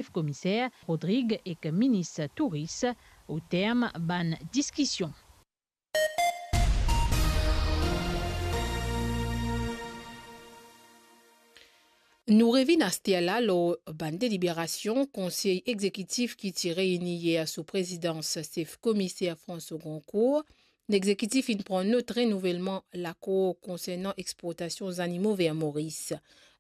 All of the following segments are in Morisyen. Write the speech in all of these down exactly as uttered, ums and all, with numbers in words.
Sef Komiser Rodrigue ek Minis Touris o term bann diskision. Nou revinn aster la lor bann deliberasion Konsey Egzekitif ki ti reyini yer sou prezidans Sef Komiser François Goncourt. Legzekitif inn pran not renouvelman lakor konsernan exportasion zanimo ver Moris.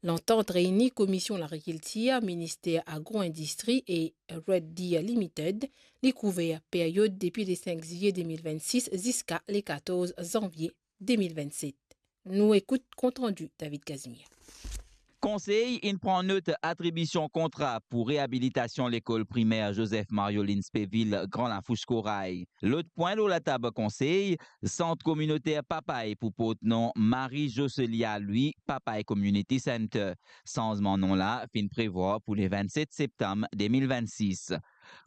Lantant reyini Komisyon Lagrikiltir, Minister Agro-Indistri e Red Deer Limited, li kouver peryod depi le sink ziye de mil vennsis ziska le katorz zanvie de mil vennset. Nou ekout kontrandi David Casimir. Konsey inn pran not atribision kontra pou reabilitasion lekol primer Joseph Mario Linspeuville, Gran Lafous Koray. Lot pwin lor latab konsey, sant kominoter Papay pou port nom Marie Jocelia Louis Papay Community Center. Sanzman nom la finn prevwar pou le vennset septam de mil vennsis.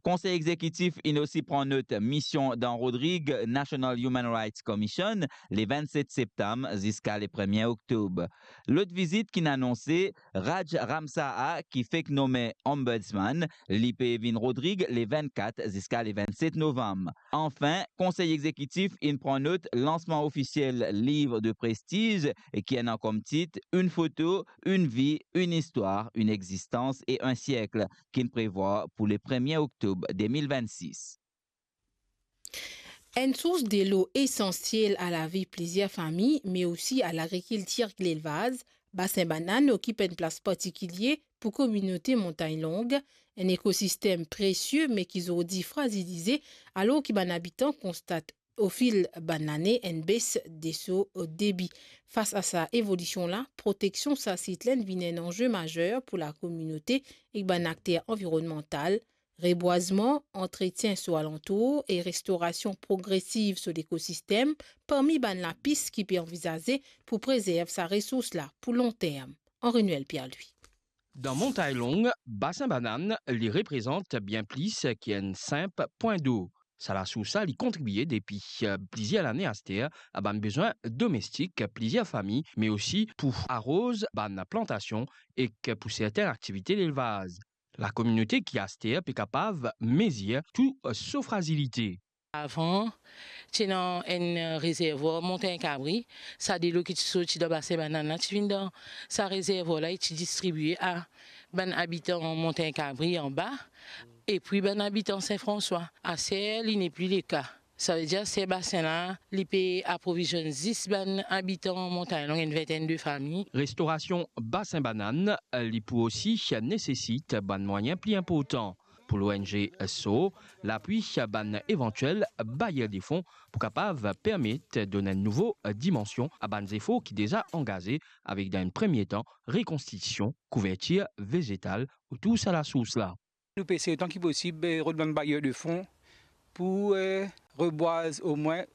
Konsey Egzekitif inn osi pran not mision dan Rodrig National Human Rights Commission, le vennset septam ziska le premie oktob. Lot vizit ki'nn anonse, Raj Ramsar, ki fek nome Ombudsman, li pe vinn Rodrig le vennkat ziska le vennset novam. Anfin, Konsey Egzekitif inn pran not lansman ofisiel liv de prestiz ki ena kom tit Une photo, une vie, une histoire, une existence et un siècle, ki'nn prevwar pou le premie oktob de mil vennsis. Enn sours delo esansiel a lavi plizier fami, me osi a lagrikiltir ek lelvaz, Basin Banann okip enn plas partikilie pou kominote Montagn Long, enn ekosistem presie me ki zordi frazilize, alor ki bann abitan konstat ofil bann lane enn bes de so debi. Fas a sa evolision la, proteksion sa sit la inn vinn enn anze mazer pou lakominote ek bann akter anvironnmantal, rebwazman, antretien so alantour e restorasion progresiv so lekosistem, parmi bann lapis ki pe anvizaze pou prezerv sa resours la pou lonterm. Henri Noël Pierre-Louis. Dan Montagn Long, Basin Banann, li reprezant bien plis ki enn sinp pwin dlo. Sa lasours la, li kontribie depi, eh, plizier lane aster a bann bezwin domestik plizier fami, me osi pou aroz bann plantasion ek pou sertin aktivite lelvaz. Lakominote ki aster pe kapav mezir tou so frazilite. Avan, ti ena enn rezervwar Montagn Kabri, sa delo ki ti sorti dan Basin Banann la, ti vinn dan sa rezervwar la e ti distribie a bann abitan Montagn Kabri anba, epi bann abitan Sin Franswa. Aster, li nepli leka. Savedir, aster basin la, li pe aprovizionn zis bann abitan Montagn Long, enn vintenn de fami. Restorasion Basin Banann, li pou osi nesesit bann mwayin pli inportan. Pou l'O N G so, lapwi bann evantiel bayer de fon pou kapav permet donn enn nouvo dimansion a bann zefor ki deza angaze avek, dan enn premie tan, rekonstitision kouvertir vezetal otour sa lasours la. Nou pe esey otan ki posib, eh, rod bann bayer de fon pou, eh, rebwaz omwin,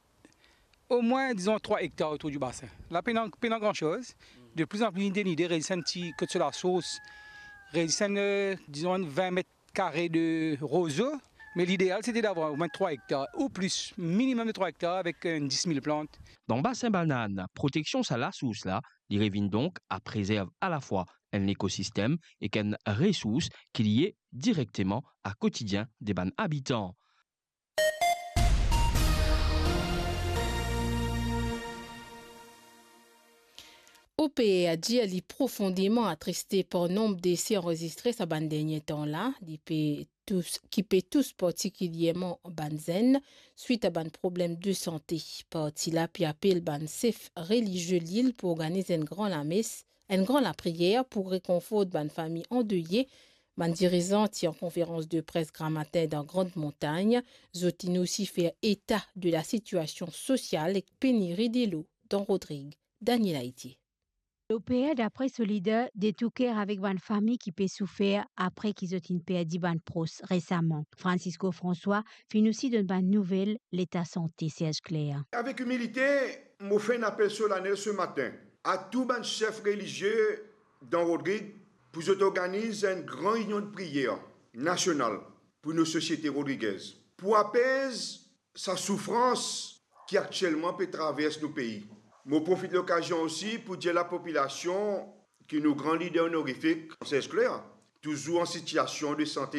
omwin, dizon, trwa ektar otour di basin. La pena, pena gran soz. De pli an pli, lide, lide, reste enn ti kot so lasours, reste enn, eh, dizon, enn vin met kare de rozo, me lideal, sete davwar omwin trwa ektar ou plis, minimem de trwa ektar avek, eh, enn dis mil plant. Dan Basin Banann, proteksion sa lasours la, li revinn donk a prezerv alafwa enn lekosistem ek enn resours ki lie direkteman a kotidien de bann abitan. O P R dir li profondeman atriste par nonb dese anrezistre sa bann dernie tan la, li pe tous, ki pe tous partikilierman bann zenn, swit a bann problem de sante. Parti la pe apel bann sef relizie lil pou organiz enn gran lames, enn gran lapriyer pou rekonfort bann fami andeye. Bann dirizan ti an konferans de pres gramatin dan Grand Montagne, zot inn osi fer eta de lasitiasion sosial ek peniri delo dan Rodrig. Daniel Aïtier. Lo P R, dapre so lider, de tou ker avek bann fami ki pe soufer apre ki zot inn perdi bann pros resaman. Francisco François finn osi donn bann nouvel leta sante Serge Clair. Avek imilite, mo fer enn apel solanel se matin a tou bann sef relizie dan Rodrig pou zot organiz enn gran inion de priyer nasional pou nou sosiete rodrigez, pou apez sa soufrans ki aktielman pe travers nou pei. Mo profit lokazion osi pou dir lapopilasion ki nou gran lider onorifik, Serge Clair, toujours en situation de santé